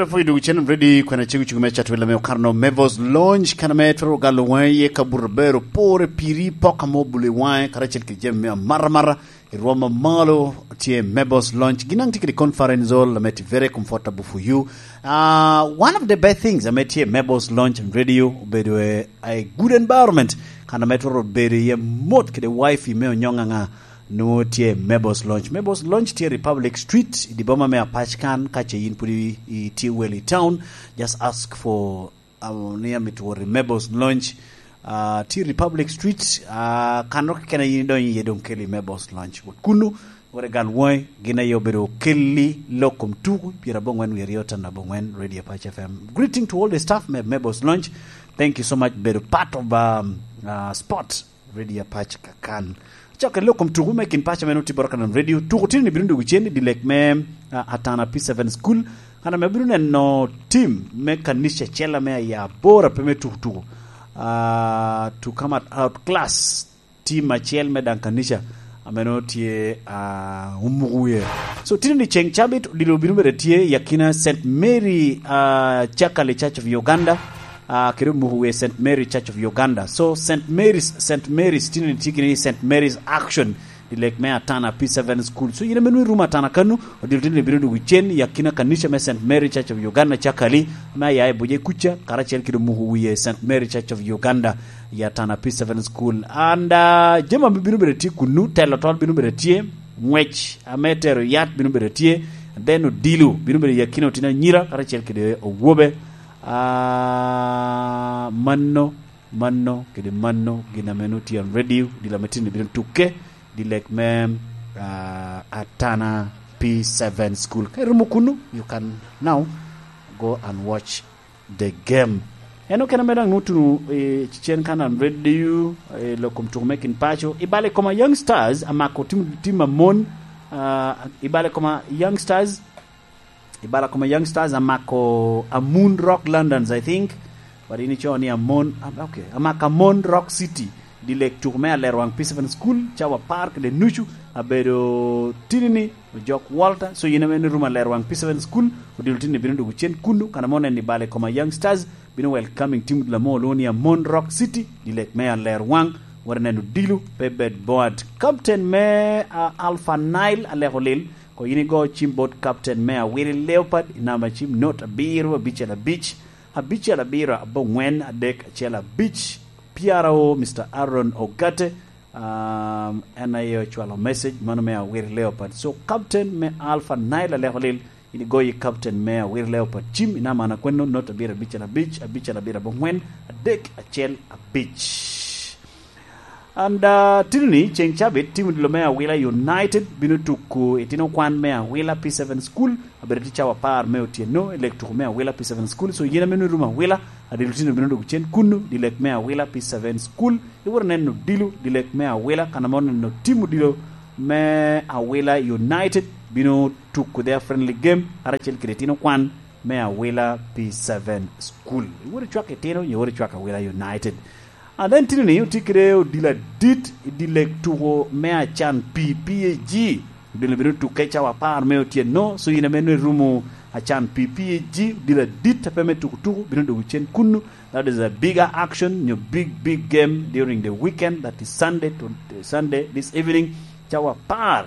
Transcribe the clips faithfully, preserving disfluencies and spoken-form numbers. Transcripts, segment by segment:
Pwod duk cen ready kwena cego cego me catwela me okano Mevos Launch, kana me twero galo waŋe iye ka buto bero pore piri pok amo buli waŋe karacel kede jami me amara mara i rwom amalo. Tye Mevos Launch, gin ang tye kede conference hall ame tye very comfortable for you. Uh, one of the best things ame tye Mevos Launch and Radio obedo a, a good environment, kana me twero bedo iye mot kede wifi me onyonga nga nwo tye Mevos Launch. Mevos Launch tye Republic Street i di boma me Apac kan, ka ce yin pwod i, i tye well i town, just ask for, um, ni amito wot i Mevos Launch. Uh, tye Republic Street, uh, kan ro keken yin idonyo iye dong keli Mevos Launch. Wot kunu, wore gal woi, gin aye obedo kelli lok kom tuku, pyera bongwen wi aryo tan abongwen, Radio Apac F M. Greeting to all the staff me Mevos Launch. Thank you so much, bedo part of, um, uh, sport. Radio Apac kakan. Cok kede lok kom tuku me kin paco meno tye Borokanan Radio. Tuku tino ni bino dwogo cen i dilek me, ah, Atana P seven School. Kan ame bino neno team me kanica acel ame aya aboro ape me tuku tuku. Ah, to come out, out class team acel me daŋ kanica ame nongo tye, ah, omuko wie. So, tino ni ceng cabit odilo bino bedo tye i akina Saint Mary, ah, Chakali Church of Uganda. Ah, kede omuko wie Saint Mary Church of Uganda. So, Saint Mary's, Saint Mary's, tino ni tye kini Saint Mary's Action, dilek me Atana P seven School. So, yin ame nwoŋo irumo Atana kanu, odilo tino ni bino dwogo cen i akina kanica me Saint Mary Church of Uganda, Chakali, ame aya i Buje kuca, karacel kede omuko wie Saint Mary Church of Uganda, i Atana P seven School. And, ah, jami ame bino bedo tye kunu, telo tol bino bedo tye, ngwec ame tero yat bino bedo tye, then odilo bino bedo i akina otino anyira, karacel kede owobe. Ah, mano, mano, kede mano, gin ame nwoŋo tye on radio, dilo ame tino bino tukke, dilek me, ah, Atana P seven School. Ka irumo kunu, you can now go and watch the game. En okene me daŋ nwoŋo tuno, eh, cen kan on radio, eh, lok kom tuko me kin paco. I bale koma Young Stars, amako tim, tim amon, ah, i bale koma Young Stars, I bala koma Young Stars amako Amun Rock Londons, I think. But in ico ni Amon, am-, okay, amako Amon Rock City. Dilek tuko me alerwaŋ P seven School, cawa apar kede nucu, abedo tini ni, ojok Walter. So, yin ame ni rumo alerwaŋ P seven School, odilo tini bino dwogo cen kunu, kan ame oneno i bale koma Young Stars, bino welcoming team odilo amo olwoŋo ni Amon Rock City, dilek me alerwaŋ, wot neno odilo, pe bed bored. Captain me, ah, Alpha Nile, Aleko Lil, Ko yin igo cim bot captain me Awili Leopard i namba cim not abiro abicel abic, abicel abiro abongwen adek acel abic, P R O Mister Aaron Ogate, um, en aye ocwalo message mano me Awili Leopard. So, captain me Alpha Nile Aleko Lil, yin igo yi captain me Awili Leopard cim i namba na kweno not abiro abicel abic, abicel abiro abongwen, adek acel abic. And, uh, tini ni, ceng cabit, tim odilo me Awila United bino tuko itino kwan me Awila P seven School, abedo tye cawa apar me otyeno, i lek tuko me Awila P seven School. So, yin ame nwoŋo irumo Awila, adilo tino bino dwogo cen kunu, di lek me Awila P seven School, iworo neno odilo, di lek me Awila, kan ame oneno tim odilo me Awila United, bino tuko their friendly game, karacel kede itino kwan me Awila P seven School. Iworo icwak itino, iworo icwak Awila United. And then tini ni otye kede odilo adit i dye lek tuko me Acan Pi P A G. Odilo bino tukke cawa apar me otyeno, so yin ame nwoŋo irumo Acan Pi P A G, odilo adit ape me tuko tuko, bino dwogo cen kunu. That is a bigger action, nyo big, big game during the weekend, that is Sunday to Sunday, this evening, cawa apar.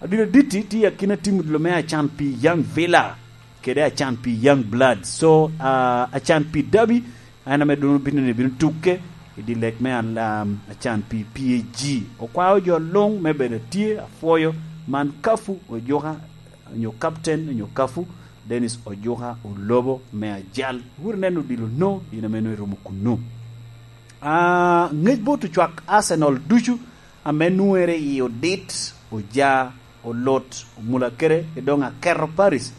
Odilo adit-ti tye akina tim odilo me Acan Pi Young Villa kede Acan Pi Young Blood. So, uh, Acan Pi Derby, en ame doŋ bino ni bino tukke i dye lek me al-, um, Acan Pi P A G. Okwao jo luŋ me bedo atye, apwoyo man Kafu Ojuka, onyo captain, onyo Kafu, Dennis Ojuka Olobo me Ajal. Wot ineno odilo no, in ame nwoŋo irumo kunu. Ah, ŋec bot ocwak Arsenal ducu, ame nwoŋere i odit, oja, olut, omulakere, ki doŋ aketo Paris.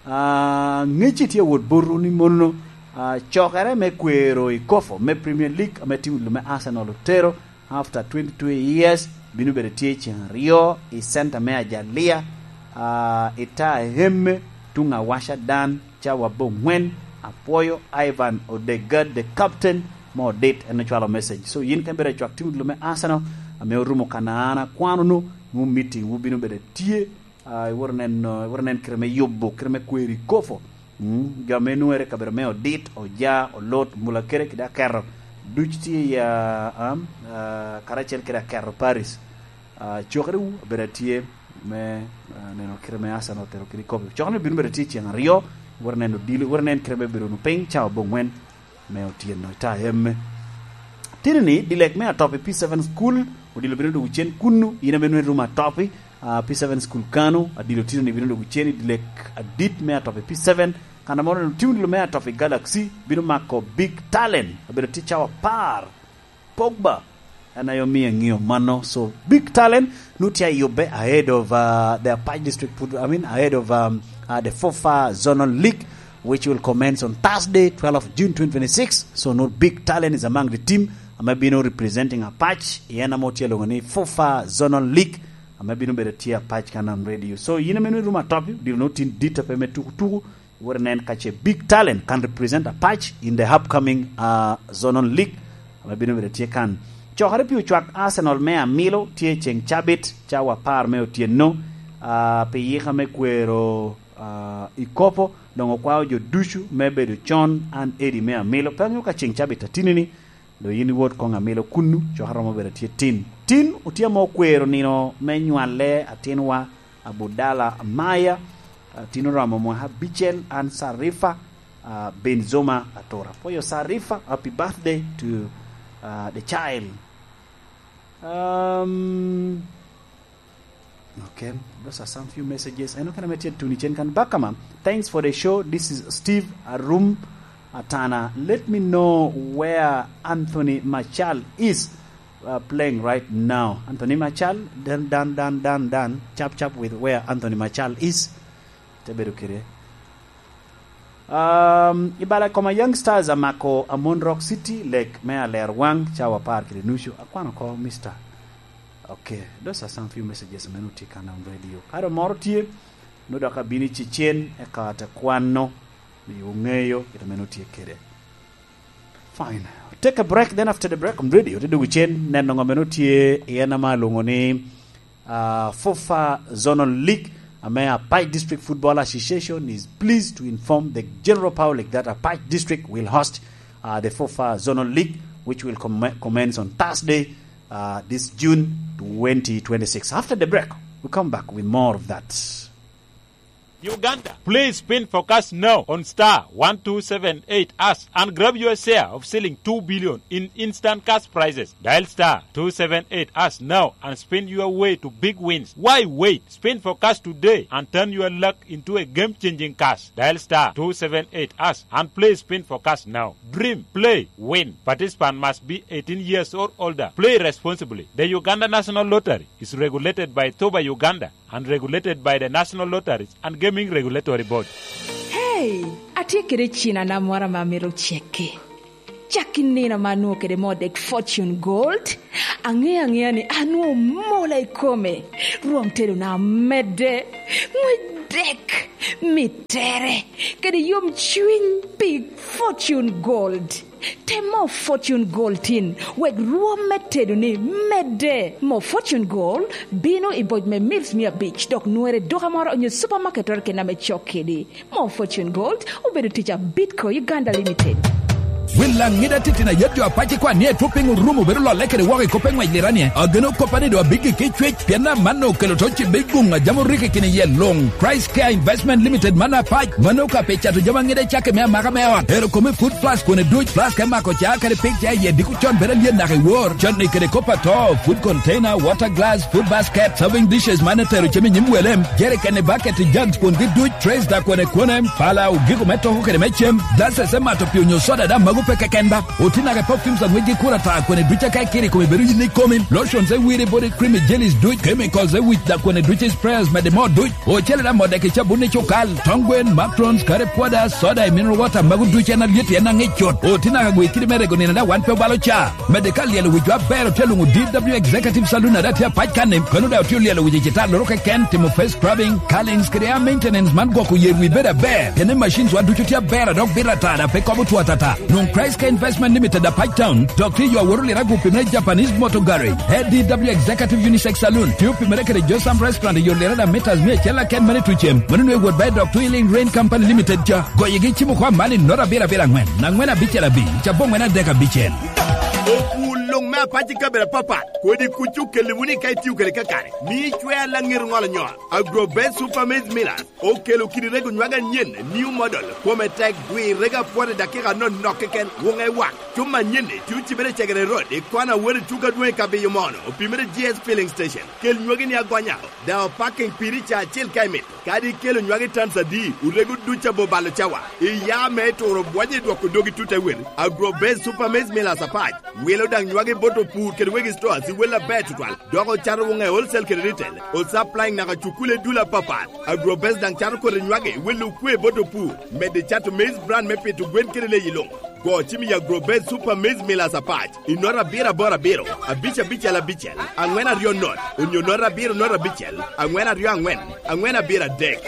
Ah, ŋecci tye awot botwu ni mono, ah, cokere me kwero i kofo me Premier League ame tim odilo me Arsenal otero after twenty-two years, bino bedo tye ceŋ aryo i center me Ajalia, ah, i ta Hemme, tuŋ awaca dan, cawa abongwen, apwoyo Ivan Odegaard, the captain, mo dit, en ocwalo message. So, yin ka ibedo acwak tim odilo me Arsenal, ame orumo kana an akwano nu, mu meeting wu bino bedo tye, ah, iworo neno, iworo nen kite me yubo, kite me kweri kofo. Mm, jo ame nwoŋere i kabedo me Odit, Oja, Olut, Mulakere kede Aketo, duc tye i, ah, am, ah, karacel kede Aketo Paris. Ah, cokerewu abedo atye me, ah, neno kite me Arsenal otero kede i kopi. Cokere-ni bino bedo atye ceŋ aryo, wot neno odilo, wot nen kite me bedo wunu piny cawa aboŋwen me otyeno i ta emme. Tini-ni, dilek me Atopi P seven School, odilo bino dwogo cen kunnu, in ame nwoŋi rumo Atopi, ah, P seven School kano, adilo tini-ni bino dwogo cen i dilek adit me Atopi P seven, kan ame oneno tim odilo me Atopi Galaxy, bino mako Big Talent, abedo tye cawa apar. Pogba, en aye omio aŋeo mano. So, Big Talent, nu tye ayubbe ahead of, uh, the Apac District Foot-, I mean, ahead of, um, uh, the FUFA Zonal League, which will commence on Thursday, twelfth of June twenty twenty-six. So, nu Big Talent is among the team ame bino representing Apac, i en ame otye alwoŋo ni FUFA Zonal League, ame bino bedo tye Apac kan on radio. So, yin ame nu irumo Atopi, diro nu tin dit ape me tuku tuku, wot inen ka ce Big Talent can represent Apac in the upcoming, uh, Zonal League, ame bino bedo tye kan. Cokere pi ocwak Arsenal me Amilo tye ceŋ cabit, cawa apar me otyeno, ah, pi yika me kwero, ah, i kopo, doŋ okwao jo ducu me bedo con an Eddie me Amilo. Pe aŋeo ka ceŋ cabit atini-ni, doŋ yin iwot koŋ Amilo kunnu, cokere romo bedo tye tin. Tin otye ame okwero nino me nywalle atinwa, Abudala Amaya, ah, tin oromo mwaka abicel, an Sarifa, ah, Benzoma Atura. Pwoyo Sarifa, happy birthday to, ah, the child. Um, okay, those are some few messages. I know can I tuni cen kan bakama. Thanks for the show. This is Steve Arum Atana. Let me know where Anthony Martial is, uh, playing right now. Anthony Martial, dan, dan, dan, dan, dan. Chap, chap with where Anthony Martial is. Te bedo kede. Um, i bala koma Young Stars amako Amon Rock City, lek me aler waŋ, cawa apar kede nucu. Akwano oko, Mister. Okay, those are some few messages ame nutye kan on radio. Ka dong moro tye, nut dok abino i cecen, eka te kwano, miyo ŋeyo kit ame nutye kede. Fine. Take a break, then after the break on radio, te dugu cen, neno ŋo ame nutye i en ama alwoŋo ni, uh, FUFA Zonal League, ame Apac District Football Association is pleased to inform the general public that Apac District will host, uh, the FUFA Zonal League, which will com-, commence on Thursday, uh, this June twenty twenty-six. After the break, we'll come back with more of that. Uganda, please spin for cash now on star one two seven eight hash and grab your share of shilling two billion in instant cash prizes. Dial star two seven eight hash now and spin your way to big wins. Why wait? Spin for cash today and turn your luck into a game-changing cash. Dial star two seven eight hash and play spin for cash now. Dream, play, win. Participant must be eighteen years or older. Play responsibly. The Uganda National Lottery is regulated by Toba Uganda and regulated by the National Lotteries and Gaming Regulatory Board. Hey, atye kede cina na moro ame amito cekke. Cak i nino ame anwoŋo kede moo dek Fortune Gold, aŋeo aŋea ni anwoŋo mola i kome, rwom tedona omedde, ŋwec dek, mittere, kede yom cwiny pi Fortune Gold. Tem moo Fortune Gold tin, wek rwom me tedoni medde. Moo Fortune Gold bino i boc me mils mia abic, dok nwere i duka moro onyo supamaket keken ame cok kedi. Moo Fortune Gold obedo tic a Bidco Uganda Limited. Wil Laŋida titino ayet jo apac ikwan ni etwo piny orumo bedo lolle kede woko i kop me ŋwec liranie. Ageno koppa ni doŋ abiggi ki cwec, pien amanno okelo to ci big guŋ a jami orikki kine iye luŋ. Price Care Investment Limited man apac, mano ka pe cato jami aŋida icakke me amaka me ot. Ero kome food flask kone duc, flask me mako ca kadi pig ca iye diko con bedo alyet naka i wor. Canni kede kop ato, food container, water glass, food basket, serving dishes man etero cem i nyim welem, jerikeni, baketi, jugs kwongi duc, trays da kwene kwene, pala, ogiko me toko kede me cem, glasses me mato pii onyo soda da magu pe keken ba. Oti naka i perfumes a ŋwec gi kura ta kwene duc aka ikiri kome bedo yin ikomi, lotions e wiri body cream i jellies duc, chemicals e wic da kwene duc i sprayers mede moo duc. Ocele da modde ki cabun i cukal, tong gwen, macarons, curry powder, soda, i mineral water, magu ducu en alyet en aŋic cut. Oti naka gwe kidi me rego nino da wan pe obalo ca. Mede ka lyelo wic wa ber otye luŋo D W Executive Saloon ada tye apac kanni, kano da otye olyelo wic i cita loro keken, timo face scrubbing, curlings kede hair maintenance man gwoko yer wi bedo aber. Kene machines wa ducu tye aber adok bit atada pe kobo two atata. Nwoŋo Price Care Investment Limited, Apac Town, dok tye i yo awot oliro agu opimere Japanese Motor Garage, A D W Executive Unisex Saloon, tye opimere kede Josam Restaurant i yo oliro da metas mia acel aken mene i Tucem, mano nwe wot bae dok Twilling Rain Company Limited ca. Goyegi cimo kwa mani nota abiro abiro angwen, angwen abicel abi, cabo angwen adek abicel. Okul luŋ me Apac i kabedo apapat, kodi kuc okeli wunu ka itio kede kakare, mi icwer laŋet ŋolo nyol. Agro Best Super Maize Millers okelo kidi rego nywage anyen, new model, kome tek, gwir rego apwot i dakika anonok keken, wuŋe wak. Cuma anyen-ni tye ocibere i Cegere Road, i kona wot i tuko adwoŋ i Kabiyo Mono, opimere G S Filling Station. Kel nywagi ni agonya, daŋ opaking piri ca acel ka imito. Kadi ikelo nywagi tons adi, orego duc abo balo cawa. Iya me turo bwonyo i dwoko dogi tut ewel. Agro Best Super Maize Millers Apac wilo daŋ nywagi bot opur kede wegi stores i wel aber tutwal. Dok ocato wuŋe wholesale kede retail, o supplying naka cukule dul apapat. Agrobest daŋ cato kodi nywagi, welo okwe bot opur, medo cato maize bran me pito gwen kede leyi luŋ. Go cim i Agrobest Super Maize Millers Apac i nota abiro aboro abiro, abic abicel abicel, angwen aryo not, onyo nota abiro not abicel, angwen aryo angwen, angwen abiro adek.